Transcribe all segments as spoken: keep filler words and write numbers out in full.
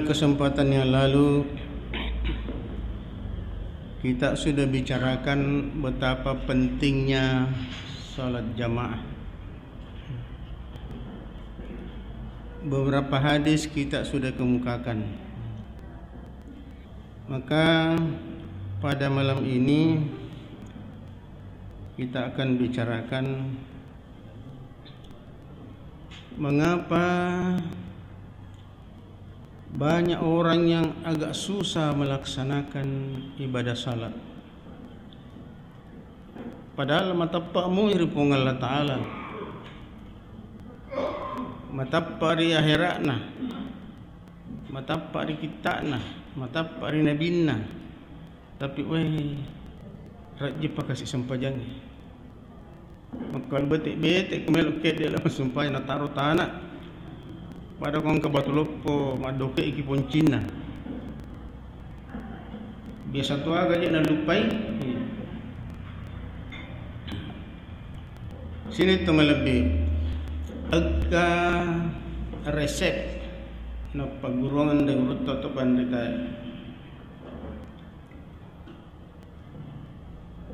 Kesempatan yang lalu, kita sudah bicarakan betapa pentingnya salat jamaah. Beberapa hadis kita sudah kemukakan. Maka, pada malam ini kita akan bicarakan mengapa banyak orang yang agak susah melaksanakan ibadah salat. Padahal matappa mui ri Puang Allah Ta'ala. Matappa ri akhera'na. Matappa ri kitta'na. Matappa ri nabinna. Tapi, weh, rajjippa kasi sempajangnge. Makkalu bete-bete ko melo kedde la sumpajang nataro tana. Pada ko engka batu loppo, maddoke'ki poncinna. Biasa to aga je nallupai. Sini to malebbi. Engka resep napagguruang de gurutta to panritae.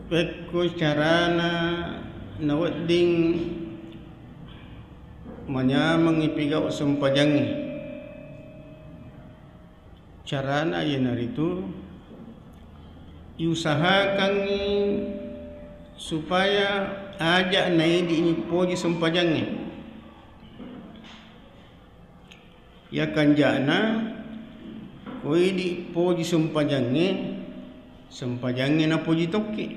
Pekko carana nawedding manyameng ipigau sempajangnge. Carana iyanaritu iusahakangngi supaya aja naidi mipoji sempajangnge. Iya kanja'na, ko idi poji sempajangnge, sempajangnge napoji tokki.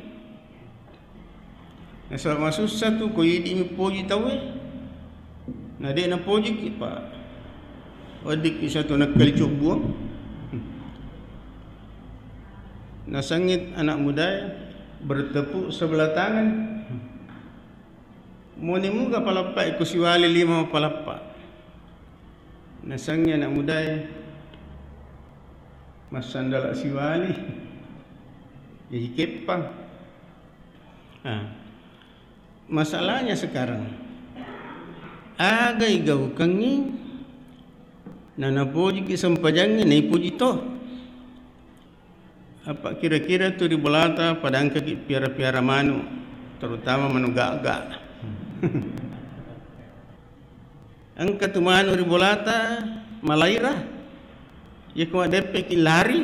Nasaba masussa tu ko idi mipoji tauwe, na de napojiki, pa weddikki satu nakkali cobbuang. Nasengngi anak mudae bertepuk sebelah tangan. Moni muga palappa iko siwali lima palappa. Nasengngi anak mudae massandala siwali. Jadi keppang. Ah. Masalahnya sekarang, aga igaukengngi na napojiki sempajangnge naipoji to. Apa kira-kira tu ri bolata pada engkaki piara-piara manu, terutama manu gaga. Engka tu manu ri bolata malaira, yako maddeppeki lari.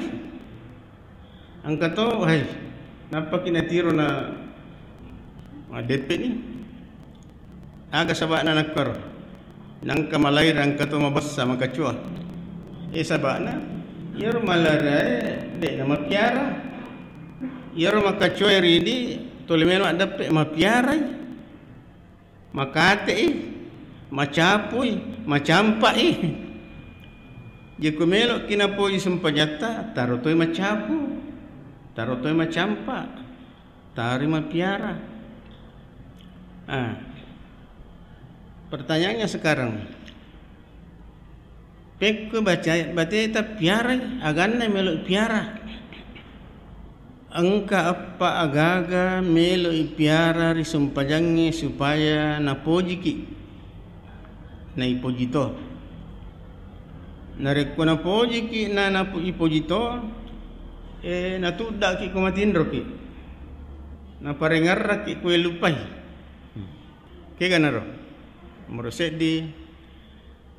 Engka to, hai, nappaki natiro na maddeppeni. Aga saba'na nakkaro? Nangka malaira engka to mabessa, makacua. Eh, saba'na iyaro malairae de'na mapiara. Iyaro makacuae ridi tuli melo addeppe, mapiarai. Makate'i, macapui, macampa'i. Jeko melo'ki napoji sempajatta, taro toi macapu, taro toi macampa. Tari mapiara. Ah. Pertanyaannya sekarang, pekko baca-, bateta piarai, aganna melo piara? Engka eppa agaga melo piara ri sempajangnge supaya napojiki. Naipoji to. Narekko napojiki na napo-, ipoji to, eh, natuddaki ko matinroki. Naparengerrakki ko elupai. Keganaro. Nomoro seddi,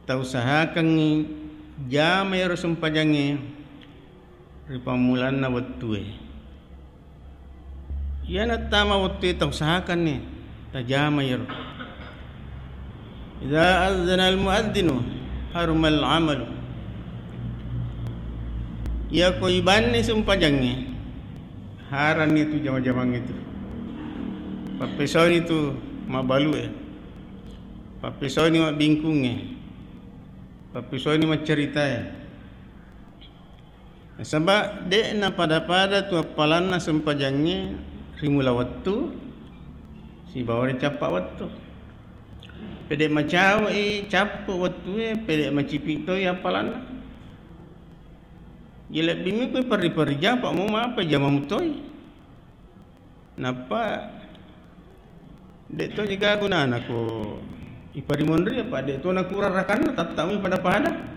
tausahakangngi jama ero sempajangnge ri pammulanna wettue. Iyana tama wettue tausahakanni tajama iyaro. Idza adzanal muadzinu harumal amalu. Iyako ibanni sempajangnge, haranni tu jama-jamangnge tu. Pappesauni tu mabbalue. Pappesauni mabbingkungnge. Pappesauni maccaritae. Nasaba de'na pada-pada tu appalanna sempajangnge ri mula wettu sibawa ri cappa wettu. Pede macawe'i cappu wettue, pede macipi toi appalanna. Jadi lebbi mi koe perri-perri jama, pa mo mapa jama mutoi. Nappa de' to jaga gunana ko iparimonri, apa de' to nakurang rakanna, tattami pada-pada.